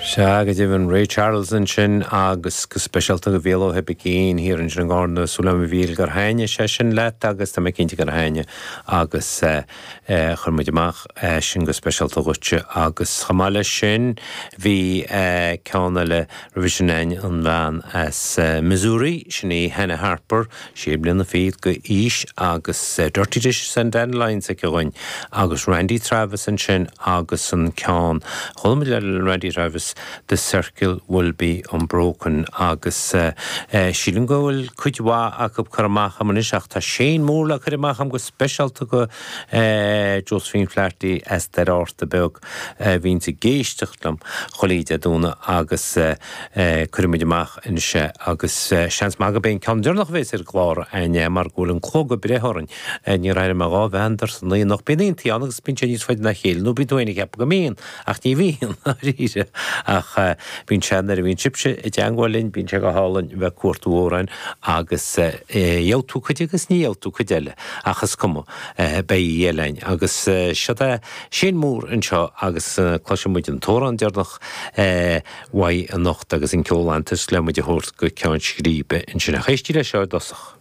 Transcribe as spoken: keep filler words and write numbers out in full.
Sea, go deimhin, Ray Charles ansin agus go speisialta do Mhícheál Ó hOibicín thiar ansin i nGarna, súil agam a Mhíchíl gur thaitnigh sé sin leat agus tá mé cinnte gur thaitnigh agus chuir muid amach sin go speisialta dhuitse agus chomh maith leis sin bhí ceann eile roimhe sin againn, an bhean as Missouri, sin í Hannah Harper, sé bliana fichead d'aois agus Dirty Dishes and Dandelions aici dhúinn agus Randy Travis ansin agus an ceann, chuala muid le Randy Travis The Circle Will Be Unbroken agus sílim go bhfuil cuid mhaith acu curtha amach agam anois ach tá Shane Moore le cur amach agam go speisialta go Josephine Flaherty as Doire Fhatharta Beag a bhíonns ag éisteacht liom chuile Dé Domhnaigh agus cuirfidh muid amach anois é agus seans maith gurb é an ceann deireanach a bheas ar an gclár againne mar go bhfuil an clog ag breith orainn. Níor éirigh mé dhá mheandar san oíche anocht. Bíonn aontaí ann agus bíonn sé níos faide ná a chéile nó bíonn tú féin ag ceapadh go mbíonn ach ní bhíonn dáiríre ach bíonn sé nuair a bhíonn sibhse i dteangmháil linn bíonn sé go hálainn bheith ag cuartú amhráin agus gheobhaidh tú cuid agus ní gheobhaidh tú cuid eile ach is cuma beidh oíche eile againn agus seod é Shane Moore anseo agus cloisfidh muid an t-amhrán deireanach uaidh anocht agus an ceol antas le muid a thabhairt go ceann scríbe ansin ach éistigí leis seo i dtosach.